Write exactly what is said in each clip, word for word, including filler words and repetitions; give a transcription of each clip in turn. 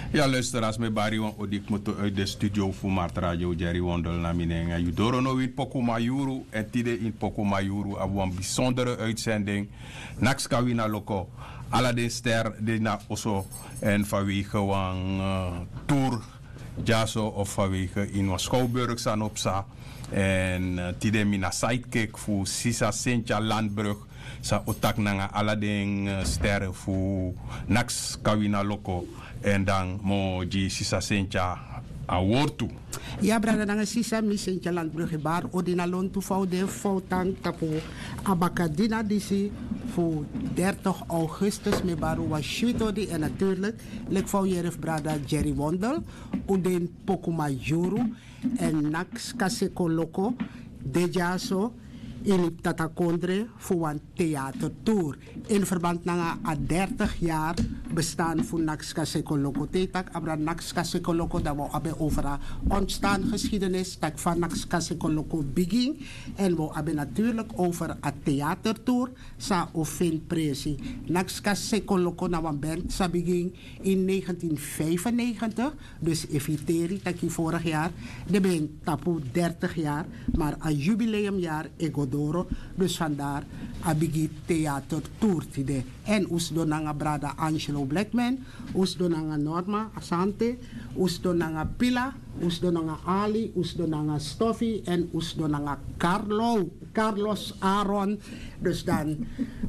Ya luisteraars, mi bari wan odi kmoto uit de studio fu Mart Radio Jerry Wondel na mi nen. Yu doro no win Pokumayuru, en tide in Pokumayuru abi wan bijzondere uitzending. Nakska wina loko, ala den ster de na oso, en vanwege wan eh, tour dyaso of vanwege in wan schouwburg san opsa. En eh, tide mi na sidekick fu sisa Cynthia Landbrug, sa o taki nanga ala den eh, ster fu Nakska wina loko. En dan mi o gi sisa Cynthia a wortu. Ya brada nanga sisa, mi Cynthia Landbrug e bari odi na lontu fu a o de fu a o tan tapu a bakadina disi fu dertig augustus. Mi e bari wan switi odi, en natuurlik leki fa un yere fu brada Jerry Wondel, un de ini Pokumayuru, en Nakska Seko Loko de dyaso ini Tatakondre fu wan theatertour in verband nanga a dertig yari bestan fu Nakska Seko Loko. Te yu taki abra Nakska Seko Loko, dan wi o abi over a ontstaangeschiedenis, taki fa Nakska Seko Loko bigin. En wi o abi natuurlik over a theatertour san o feni presi. Nakska Seko Loko na wan band san bigin in negentien vijfennegentig. Dus efu yu teri taki vorig yari den ben tapu dertig yari, maar a jubileumyari e go doro. Dus vandaar a bigi theatertour tide. En un sidon nanga brada Angelo Blackman, un sidon nanga Norma Asante, un sidon nanga Pila, un sidon nanga Ali, un sidon nanga Stoffy, en un sidon nanga Carlo, Carlos Aaron. Dus dan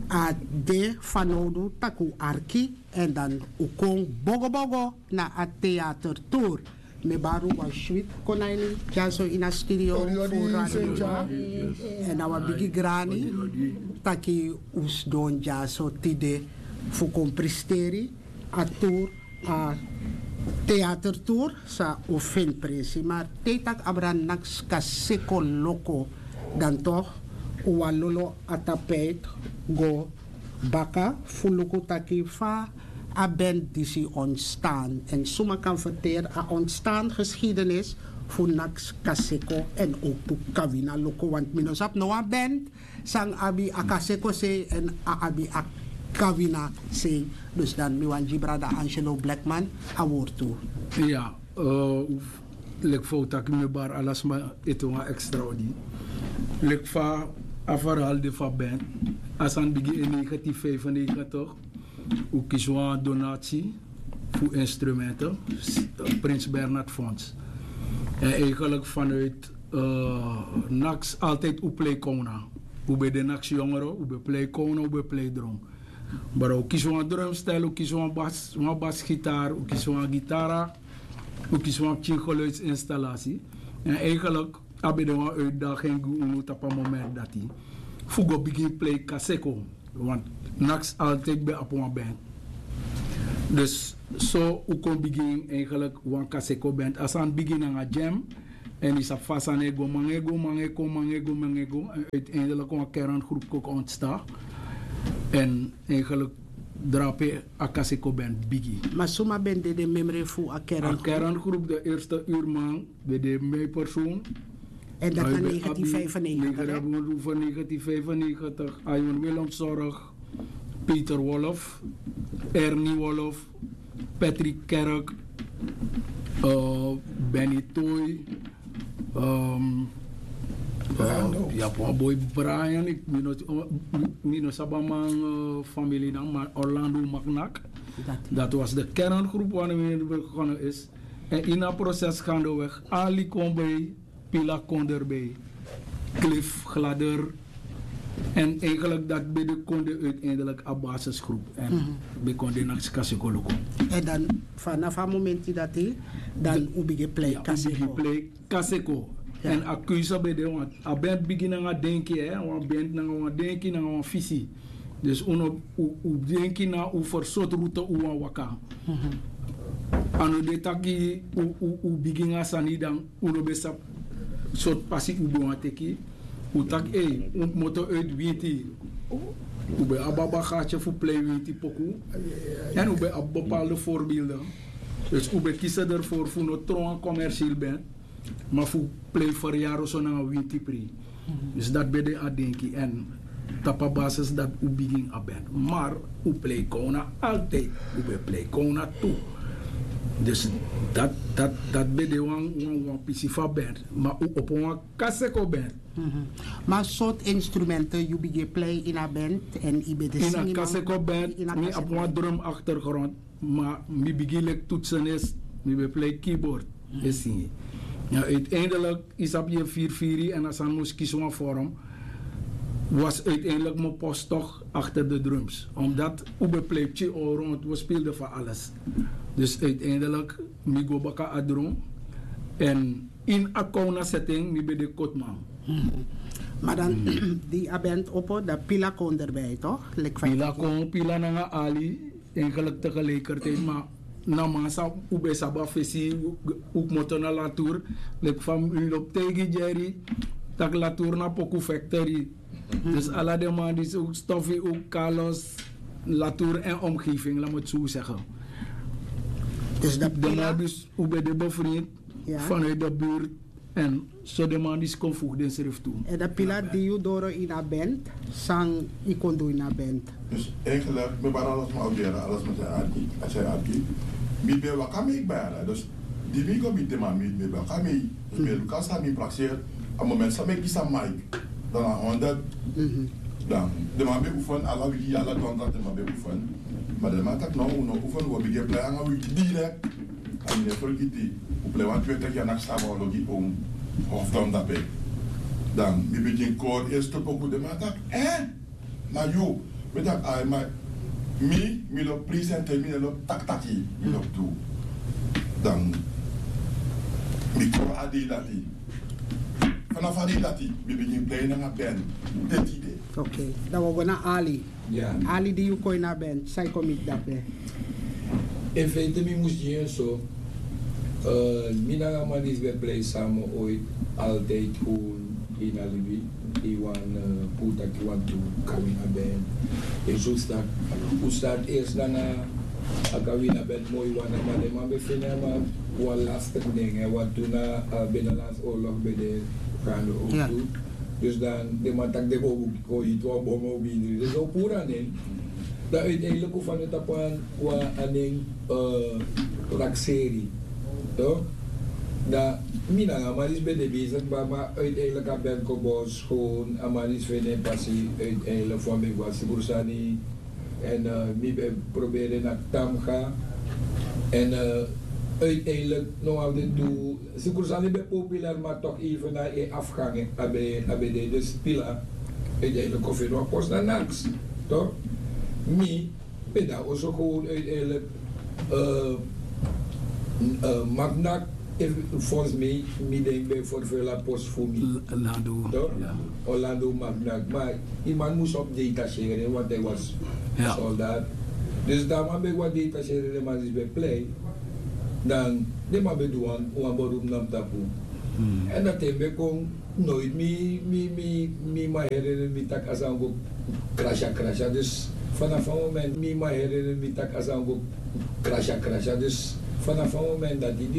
a de fanowdu taki un arki, en dan un kon bogobogo na a theatertour. Mi e bari un wan switi kon na ini dyaso ini a studio fu Radio Wi. En na wan bigi grani taki un sidon dyaso tide fu kon presteri a tour, a theatertour san o feni presi. Maar te yu taki abra Nakska Seko Loko, dan toch un wan lolo a tapijt go baka fu luku taki fa a band disi ontstaan, en suma kan verteri a ontstaangeschiedenis fu Nakska Seko, en ook tu Kawina Loko, want mi no sabi no wan band san abi a Kaseko sei en a abi a Kawina sei. Dus dan mi wani gi brada Angelo Blackman a wortu. Ya, eh, leki fa un taki, mi e bari ala sma ete wan extra odi. Leki fa a verhaal de fu a band, a sani bigin in negentien vijfennegentig. Un kisi wan donati fu instrumenten, Prins Bernhard Fonds. En eigenlijk vanuit eh, Naks altijd un play kona. Un ben de Naks jongeren, un ben play kona, un ben play drum. Maar un kisi wan drumstel, un kisi wan bas, wan basgitaar, un kisi wan gitara, un kisi wan pikin geluidsinstallatie. En eigenlijk a ben de wan uitdaging gi unu tapu a moment dati fu go bigin play Kaseko. Want Naks altijd ben abi wan band. Dus so un kon bigin eigenlijk wan Kaseko band. A sani bigin nanga jam. En yu sabi fa a sani e go, man e go, man e kon, man e go, man e go. En uiteindelijk wan kerngroep kon ontstaan. En eigenlijk drape a Kaseko band bigin. Ma suma ben de den memre fu a kerngroep? A kerngroep, de eerste uurman, ben de mi persoon. En dat na negentien vijfennegentig, hè? Negentien vijfennegentig, Ayon Willem Zorg, Peter Wolf, Ernie Wolf, Patrick Kerk, eh, Benny Toy, ehm, eh, Orlando. Ya, wan boy Brian, ik, mi no, oh, mi, mi no sabi a man, eh, famili na, maar Orlando Maknak. Dat. Dat was de kerngroep wanneer we begonnen is. En in dat proces gaandeweg, Ali kon bij, Pila kon erbij, Cliff Gladder. En eigenlijk dat ben de konde uiteindelijk a basisgroep. En ben konde na Kaseko Loko. En dan vanaf a momenti dati, dan un bigin play Kaseko. Kaseko. En a keuze ben de, want a band bigin nanga denki, hè, wan band nanga wan denki, nanga wan visi. Dus un no, un, un denki na un versortroute un wan waka. A no de taki un, un, un bigin a sani dan un no ben sabi sortu pasi un ben wani teki. Un taki, ei, un kmoto uit winti. Un ben abi a bagage fu play winti poku. En un ben abi bepaalde voorbeelden. Dus un ben kisi ervoor fu no tron wan commercieel band. Ma fu play verjaardag so nanga winti pri. Dus dat ben de a denki. En tapu a basis dat un bigin a band. Maar un play kona altijd. Un ben play kona tu. Dus dat dat dat ben de wan wan wan pisi fu a band, ma un opo wan kaseko band. Ma sortu instrumenten yu bigin plei ini a band en yu ben de singi? Kaseko band, mi abi wan drum achtergrond, ma mi bigin leki toetsenist. Mi ben plei keyboard en singi. Na uiteindelijk, yu sabi, yu e firi firi en a sani mus kisi wan vorm. Was uiteindelijk mi post toch achter de drums, omdat un ben plei pikin all rond, we speelden van alles. Dus uiteindelijk, mi go baka a drum. En in a kona setting mi ben de kotman. Maar dan, die a band opo, dan pila kon erbij, toch? Pila kon, pila nanga ali, eigenlijk tegelijkertijd, maar na man sa un ben sabi a fesi. Un kmoto na latour, leki fa mi lobi taigi Jerry, tak' latour na poku factory. Dus ala den man disi, un Stoffie, un Carlos, latour en omgeving, laat me het zo zeggen. Dus dat pila, dus un ben de bevriend vanuit de buurt. En so den man disi kon voeg densrefi tu. En dat pila di yu doro ini a band, san yu kon du ini a band? Dus eigenlijk, mi bari, alles mi abi, alles mi abi, a san yu abi. Mi ben waka mei bari, dus di mi go miti den man, mi ben waka mei. Dus mi e luku san mi prakseri. A moment san mi e kisi a mic, dan na honderd. Dan den man ben oefen, ala wiki, ala donderdag den man ben oefen. Ma den man taki: "No, un no oefen, un o bigin plei nanga wi direct." A mi no e fergiti, un plei wan twintig yari, naki saba ologi, un hof dan dape. Dan mi bigin kori eerste poku, den man taki: "Eh? Na yu?" Mi taki: "Ai, ma mi, mi lobi presenteri, mi no lobi taki taki, mi lobi du." Dan mi kori a dei dati. Vanaf a dei dati mi bigin plei nanga band te tide. Oké, dan wi o go na Ali. Ali, di yu kon ini a band, san yu kon miti dape? In feite mi mus gi en so. Eh, mi nanga a man disi ben plei samen ooit, altijd gewoon in a libi. Yu wani, eh, puru taki yu wani du Kawina band. Yu si san, un start eerst nanga a Kawina band, moi wan, ma den man ben feni en, ma wan lastig nen, en wan, toen na, eh, Binnenlandse Oorlog ben de gaande ook toe. Dus dan den man taki den go, go hiti wan bom, o bigin. Dus o puru a nen. Dan uiteindelijk un feni tapu wan, wan a nen, eh, prakseri. Toch? Dan mi nanga a man disi ben de bezig, ma, ma uiteindelijk a band kon bos, gewoon a man disi feni en pasi, uiteindelijk fu a mi wan sibru sani. En, eh, mi ben proberen na Tamga. En, eh, uiteindelijk no wan fu den tu, sibru sani ben populair, maar toch even na en afgang, a ben, a ben de, dus pila. Uiteindelijk kon feni wan post na Naks, toch? Mi ben dan also gewoon uiteindelijk, eh, eh, Magnak, volgens mij, mi denk ben vervul a post fu mi. Orlando, toch? Orlando Magnak. Maar die man moest op detacheren, want hij was soldaat. Dus dan man ben wan detacheren, den man disi ben plei. Dan den man ben du wan, wan beroep na mi tapu. En dat ten ben kon nooit mi, mi, mi, mi man herinneren mi taki a sani go krasha, krasha. Dus vanaf a moment mi man herinneren mi taki a sani go krasha, krasha. Dus vanaf a moment dati di